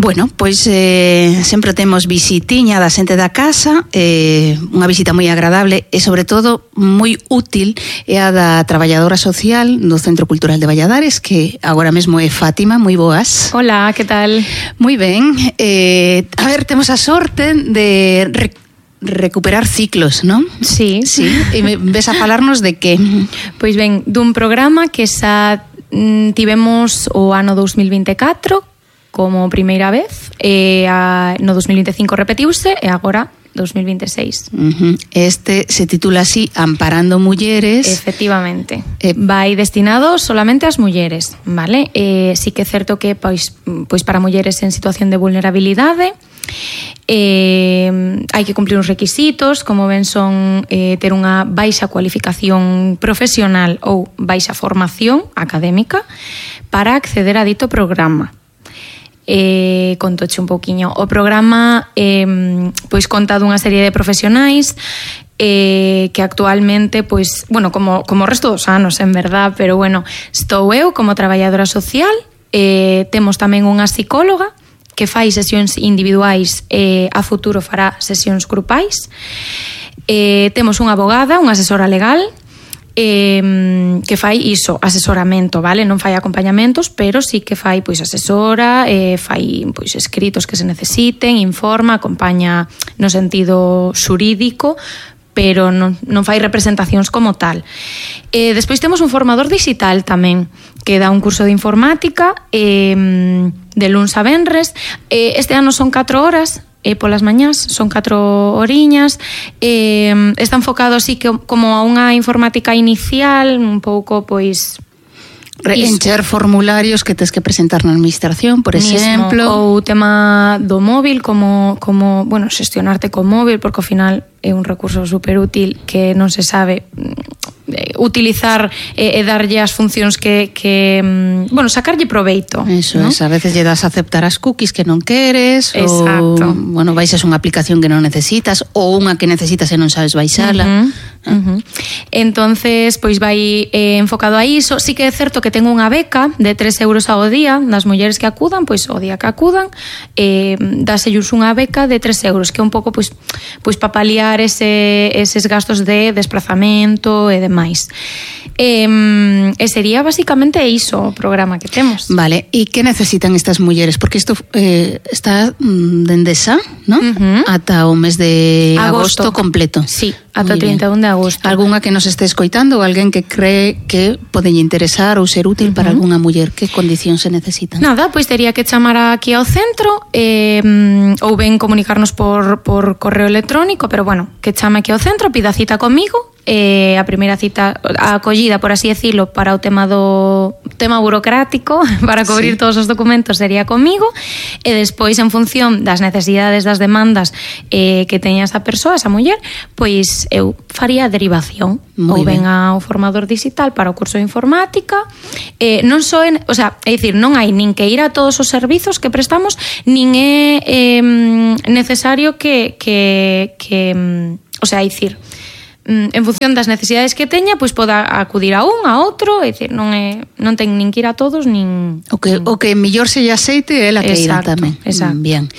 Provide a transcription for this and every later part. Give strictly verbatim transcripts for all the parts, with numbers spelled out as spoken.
Bueno, pois eh, sempre temos visitiña da xente da casa, eh, unha visita moi agradable e sobre todo moi útil é a da traballadora social do Centro Cultural de Valladares, que agora mesmo é Fátima. Moi boas. Hola, que tal? Moi ben. Eh, a ver, temos a sorte de rec recuperar ciclos, non? Sí. Sí. E me ves a falarnos de que? Pois ben, dun programa que xa mm, tivemos o ano dos mil vinte e catro como primeira vez, e a, no dos mil vinte e cinco repetiuse e agora dos mil vinte e seis. Uh-huh. Este se titula así, Amparando Mulleres. Efectivamente. Eh, vai destinado solamente ás mulleres, vale? Eh, sí que é certo que pois, pois para mulleres en situación de vulnerabilidade eh, hai que cumplir uns requisitos, como ben son eh, ter unha baixa cualificación profesional ou baixa formación académica para acceder a dito programa. Eh, contoche un pouquiño. O programa eh, pois conta dunha serie de profesionais eh, que actualmente, pois, bueno, como, como o resto dos anos, en verdad, pero bueno, estou eu como traballadora social, eh, temos tamén unha psicóloga que fai sesións individuais e eh, a futuro fará sesións grupais, eh, temos unha abogada, unha asesora legal, Eh, que fai iso, asesoramento, vale? Non fai acompañamentos, pero sí que fai pois asesora, eh, fai pois escritos que se necesiten, informa, acompaña no sentido xurídico, pero non, non fai representacións como tal. Eh, despois temos un formador digital tamén, que dá un curso de informática eh, de luns a venres. Eh, este ano son catro horas, e polas mañás son catro oriñas, eh, está enfocado así que como a unha informática inicial, un pouco pois encher formularios que tes que presentar na administración, por exemplo, mismo, ou tema do móvil, como como, bueno, xestionarte co móvil, porque ao final é un recurso super útil que non se sabe utilizar e, e darlle as funcións que, que bueno, sacarlle proveito. Eso, ¿no? es, a veces lle das a aceptar as cookies que non queres. Exacto. Ou, bueno, baixas unha aplicación que non necesitas ou unha que necesitas e non sabes baixala. Uh-huh. Uh-huh. Entonces, pois vai eh, enfocado a iso. Sí que é certo que tengo unha beca de tres euros ao día das mulleres que acudan, pois o día que acudan eh, dáselles unha beca de tres euros, que é un pouco pois, pois para paliar ese, eses gastos de desplazamento e demais. E, e sería basicamente iso o programa que temos. Vale, e que necesitan estas mulleres? Porque isto eh, está dende xa, non? Uh-huh. Ata o mes de agosto, agosto completo. Sí, ata o trinta e un de agosto. Algúnha que nos este escoitando ou alguén que cree que podelle interesar ou ser útil uh-huh. para algunha muller, que condicións se necesitan? Nada, pois tería que chamar aquí ao centro eh, ou ben comunicarnos por, por correo electrónico, pero bueno, que chame aquí ao centro, pida cita comigo. Eh, a primeira cita, a acollida, por así decirlo, para o tema do tema burocrático, para cubrir sí. todos os documentos sería comigo, e despois en función das necesidades, das demandas eh, que teña esa persoa, esa muller, pois eu faría a derivación. Moi ou ben ao formador digital para o curso de informática. Eh, non só, en, o sea, é dicir, non hai nin que ir a todos os servizos que prestamos, nin é eh, necesario que que que, o sea, é dicir, en función das necesidades que teña, pois poda acudir a un, a outro, é dicir, non é non ten nin que ir a todos, nin o que o que mellor se lle aceite é la que irá tamén. Exacto. Bien.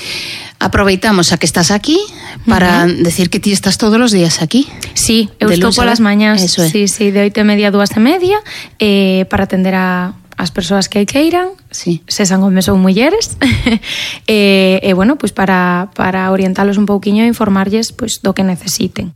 Aproveitamos a que estás aquí para uh-huh. decir que ti estás todos os días aquí. Sí, eu estou polas mañás. Eso é. Sí, sí, de oito e media a dúas e media, eh, para atender a as persoas que queiran, sí. sesan homes ou mulleres, e, e bueno, pois para, para orientalos un pouquiño e informarlles pois do que necesiten.